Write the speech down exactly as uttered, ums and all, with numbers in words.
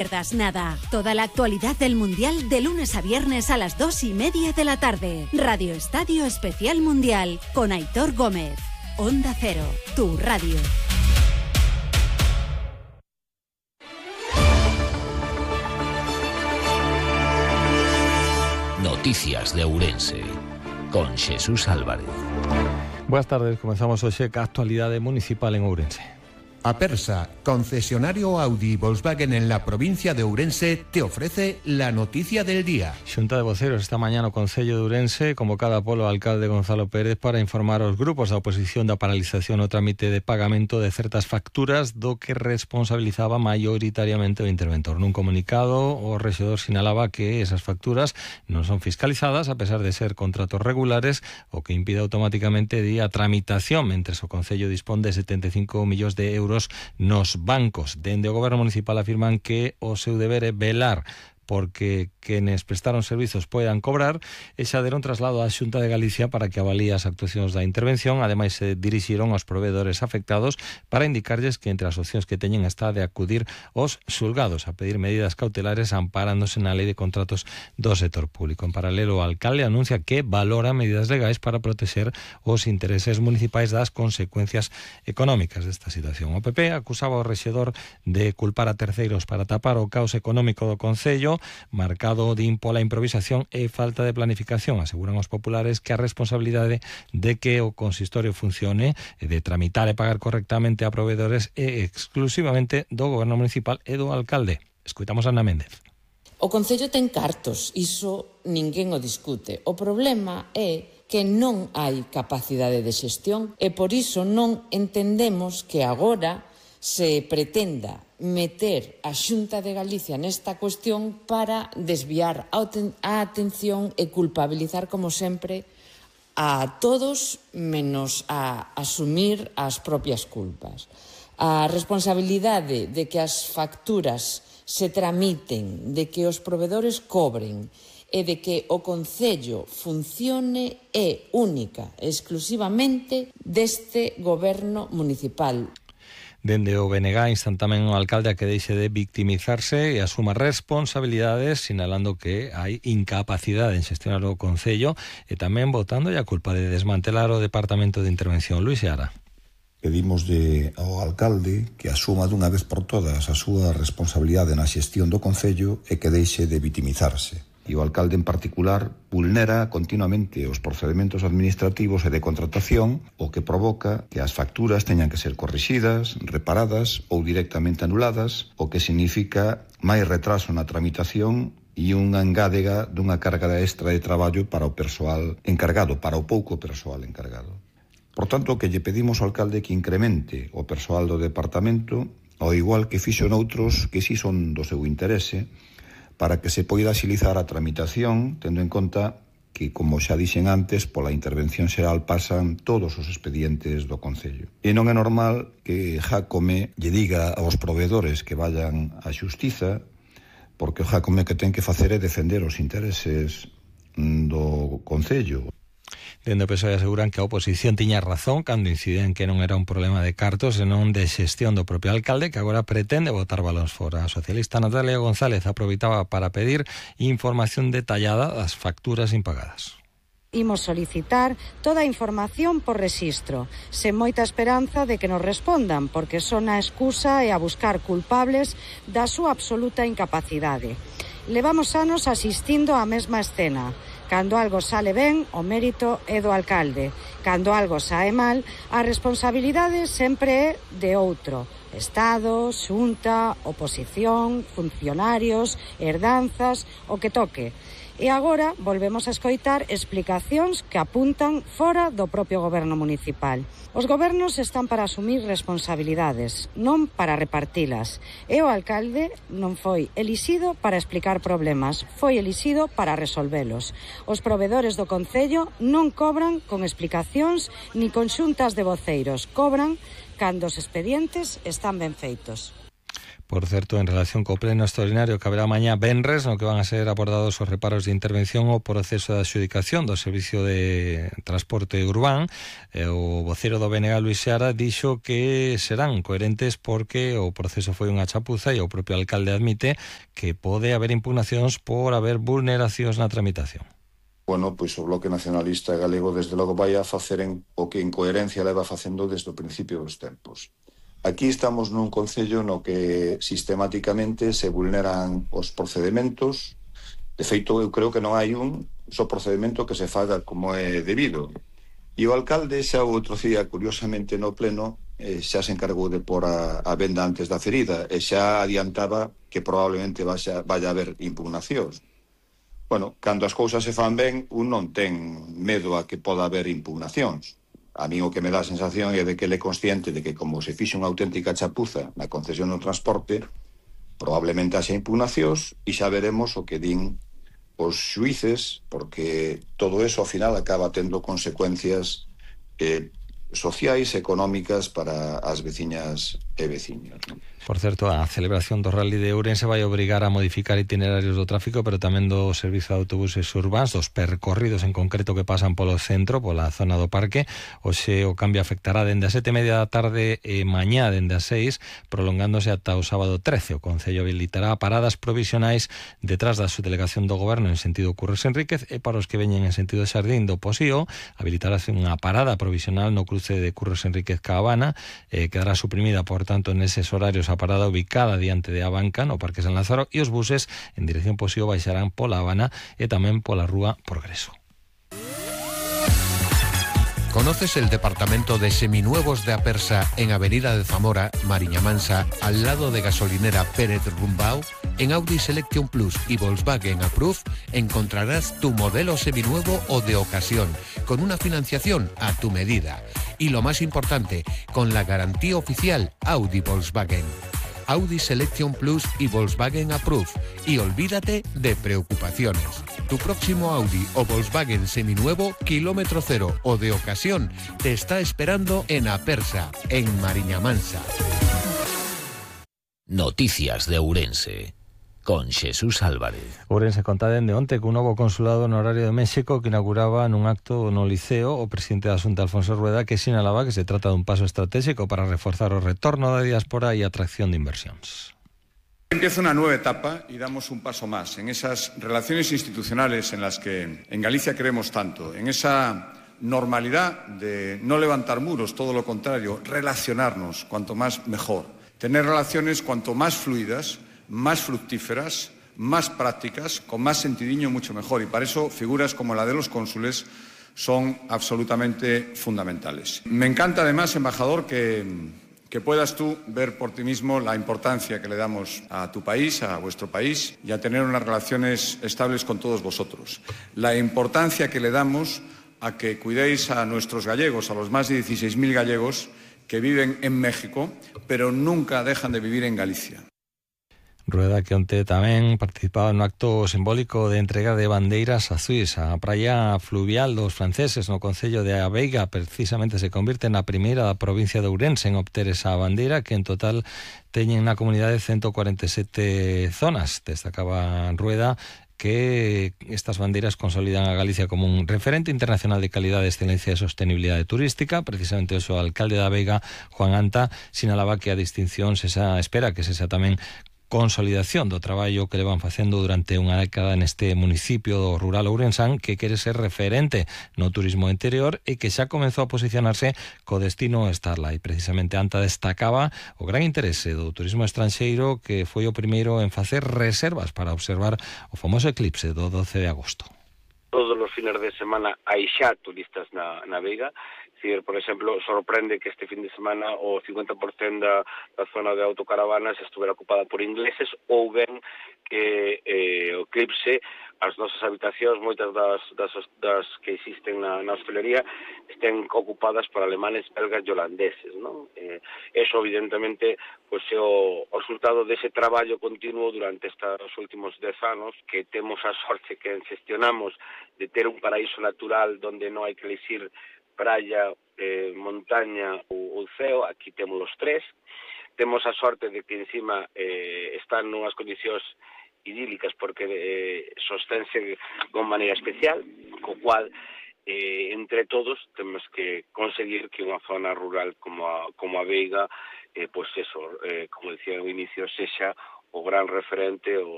pierdas nada. Toda la actualidad del Mundial de lunes a viernes a las dos y media de la tarde. Radio Estadio Especial Mundial con Aitor Gómez. Onda Cero, tu radio. Noticias de Ourense con Jesús Álvarez. Buenas tardes, comenzamos hoxe ca actualidade municipal en Ourense. Apersa, concesionario Audi Volkswagen en la provincia de Ourense, te ofrece la noticia del día. Xunta de voceros esta mañá no Concello de Ourense, convocada polo alcalde Gonzalo Pérez para informar aos grupos da oposición da paralización o trámite de pagamento de certas facturas do que responsabilizaba maioritariamente o interventor. Nun comunicado, o rexedor sinalaba que esas facturas non son fiscalizadas a pesar de ser contratos regulares, o que impide automáticamente a tramitación, mentres o Concello dispón de setenta e cinco millóns de euros nos bancos. Dende o Goberno Municipal afirman que o seu deber é velar porque quenes prestaron servizos poidan cobrar e xa deron traslado á Xunta de Galicia para que avalíe as actuacións da intervención. Ademais, se dirixiron aos proveedores afectados para indicarlles que entre as opcións que teñen está de acudir aos xulgados a pedir medidas cautelares amparándose na Lei de Contratos do Sector Público. En paralelo, o alcalde anuncia que valora medidas legais para protexer os intereses municipais das consecuencias económicas desta situación. O P P acusaba ao rexedor de culpar a terceiros para tapar o caos económico do Concello, marcado din pola improvisación e falta de planificación. Aseguran os populares que a responsabilidade de que o consistorio funcione e de tramitar e pagar correctamente a proveedores é exclusivamente do Goberno Municipal e do alcalde. Escoitamos a Ana Méndez. O Concello ten cartos, iso ninguén o discute. O problema é que non hai capacidade de xestión e por iso non entendemos que agora se pretenda meter a Xunta de Galicia nesta cuestión para desviar a atención e culpabilizar, como sempre, a todos menos a asumir as propias culpas. A responsabilidade de que as facturas se tramiten, de que os proveedores cobren e de que o Concello funcione é única, exclusivamente deste Goberno Municipal. Dende o B N G instan tamén o alcalde a que deixe de victimizarse e asuma responsabilidades, sinalando que hai incapacidade en xestionar o Concello e tamén botando a culpa de desmantelar o Departamento de Intervención. Luis Seara. Pedimos de, ao alcalde que asuma dunha vez por todas a súa responsabilidade na xestión do Concello e que deixe de vitimizarse. E o alcalde en particular vulnera continuamente os procedementos administrativos e de contratación, o que provoca que as facturas teñan que ser corrixidas, reparadas ou directamente anuladas, o que significa máis retraso na tramitación e unha engádega dunha carga extra de traballo para o persoal encargado, para o pouco persoal encargado. Por tanto, que lle pedimos ao alcalde que incremente o persoal do departamento, ao igual que fixo noutros que si son do seu interese, para que se poida axilizar a tramitación, tendo en conta que, como xa dixen antes, pola intervención xeral pasan todos os expedientes do Concello. E non é normal que Jácome lle diga aos proveedores que vayan á xustiza, porque o Jácome que ten que facer é defender os intereses do Concello. Dende o P S O E aseguran que a oposición tiña razón cando inciden que non era un problema de cartos senón de xestión do propio alcalde, que agora pretende botar balóns fora. A socialista Natalia González aproveitaba para pedir información detallada das facturas impagadas. Imos solicitar toda a información por rexistro, sen moita esperanza de que nos respondan, porque son a excusa e a buscar culpables da súa absoluta incapacidade. Levamos anos asistindo á mesma escena. Cando algo sale ben, o mérito é do alcalde. Cando algo sae mal, a responsabilidade sempre é de outro. Estado, xunta, oposición, funcionarios, herdanzas, o que toque. E agora volvemos a escoitar explicacións que apuntan fora do propio Goberno Municipal. Os gobernos están para asumir responsabilidades, non para repartilas. E o alcalde non foi elixido para explicar problemas, foi elixido para resolvelos. Os proveedores do Concello non cobran con explicacións ni con xuntas de voceiros, cobran cando os expedientes están ben feitos. Por certo, en relación co pleno extraordinario que haberá mañá venres, no que van a ser abordados os reparos de intervención ao proceso de adxudicación do Servicio de Transporte Urbán, eh, o vocero do B N G, Luis Seara, dixo que serán coherentes porque o proceso foi unha chapuza e o propio alcalde admite que pode haber impugnacións por haber vulneracións na tramitación. Bueno, pois o Bloque Nacionalista Galego desde logo vai a facer en, o que en coherencia leva facendo desde o principio dos tempos. Aquí estamos nun concello no que sistemáticamente se vulneran os procedementos. De feito, eu creo que non hai un só procedemento que se faga como é debido. E o alcalde xa o outro día, curiosamente no pleno, eh, xa se encargou de pôr a, a venda antes da ferida e xa adiantaba que probablemente vaya, vaya a haber impugnacións. Bueno, cando as cousas se fan ben, un non ten medo a que poda haber impugnacións. A mí o que me dá a sensación é de que ele é consciente de que como se fixe unha auténtica chapuza na concesión do transporte, probablemente haxa impugnacións e xa veremos o que din os xuíces, porque todo eso ao final acaba tendo consecuencias eh, sociais, económicas para as veciñas e veciños, non? Por certo, a celebración do Rally de Ourense vai obrigar a modificar itinerarios do tráfico, pero tamén do servizo de autobuses urbáns, dos percorridos en concreto que pasan polo centro, pola zona do parque. Oxe, o cambio afectará dende as sete e media da tarde e mañá dende as seis, prolongándose ata o sábado trece. O Concello habilitará paradas provisionais detrás da subdelegación do Goberno en sentido Curros Enríquez, e para os que veñen en sentido Xardín do Posío, habilitarase unha parada provisional no cruce de Curros Enríquez ca Habana, eh, quedará suprimida, por tanto, neses horarios a parada ubicada diante de Abanca, no Parque San Lázaro, e os buses en dirección Posío baixarán pola Habana e tamén pola Rúa Progreso. ¿Conoces el departamento de seminuevos de Apersa en Avenida de Zamora, Mariña Mansa, al lado de gasolinera Pérez Rumbao? En Audi Selection Plus y Volkswagen Approve encontrarás tu modelo seminuevo o de ocasión, con una financiación a tu medida. Y lo más importante, con la garantía oficial Audi Volkswagen. Audi Selection Plus y Volkswagen Approve. Y olvídate de preocupaciones. Tu próximo Audi o Volkswagen seminuevo, kilómetro cero o de ocasión, te está esperando en Apersa, en Mariña Mansa. Noticias de Ourense, con Xesús Álvarez. Ourense conta dende onte que un novo consulado honorario de México que inauguraba nun acto no Liceo o presidente da Xunta, Alfonso Rueda, que sinalaba que se trata dun paso estratégico para reforzar o retorno da diáspora e a atracción de inversións. Empieza una nueva etapa y damos un paso más en esas relaciones institucionales en las que en Galicia queremos tanto, en esa normalidad de no levantar muros, todo lo contrario, relacionarnos cuanto más mejor, tener relaciones cuanto más fluidas, más fructíferas, más prácticas, con más sentidiño mucho mejor, y para eso figuras como la de los cónsules son absolutamente fundamentales. Me encanta además, embajador, que... que puedas tú ver por ti mismo la importancia que le damos a tu país, a vuestro país, y a tener unas relaciones estables con todos vosotros. La importancia que le damos a que cuidéis a nuestros gallegos, a los más de dieciséis mil gallegos que viven en México, pero nunca dejan de vivir en Galicia. Rueda que onte tamén participaba no acto simbólico de entrega de bandeiras azuis. A praia fluvial dos franceses no concello de Aveiga precisamente se convirte na primeira da provincia de Ourense en obter esa bandeira, que en total teñen na comunidade ciento cuarenta e sete zonas. Destacaba Rueda que estas bandeiras consolidan a Galicia como un referente internacional de calidade, excelencia e sostenibilidade turística. Precisamente o alcalde da Veiga, Juan Anta, sinalaba que a distinción se espera que se xa tamén consolidación do traballo que levan facendo durante unha década neste municipio do rural ourensán, que quere ser referente no turismo interior e que xa comezou a posicionarse co destino Starlight. Precisamente Anta destacaba o gran interese do turismo estranxeiro, que foi o primeiro en facer reservas para observar o famoso eclipse do doce de agosto. Todos os fines de semana hai xa turistas na, na Veiga. Decir, por exemplo, sorprende que este fin de semana o cincuenta por cento da, da zona de autocaravanas estuviera ocupada por ingleses, ou ben que eh, o eclipse, as nosas habitacións, moitas das, das, das que existen na, na hostelería, estén ocupadas por alemanes, belgas e holandeses, non? Eh, eso, evidentemente, pois é o, o resultado dese traballo continuo durante estes últimos dez anos, que temos a sorte que gestionamos de ter un paraíso natural donde non hai que elegir praia, eh, montaña ou, ou ceo. Aquí temos os tres. temos a sorte de que encima eh, están nunhas condicións idílicas porque eh, sostense con maneira especial, co cual eh, entre todos temos que conseguir que unha zona rural como a, como a Veiga, eh, pois eso, eh, como decía no inicio, sexa o gran referente, o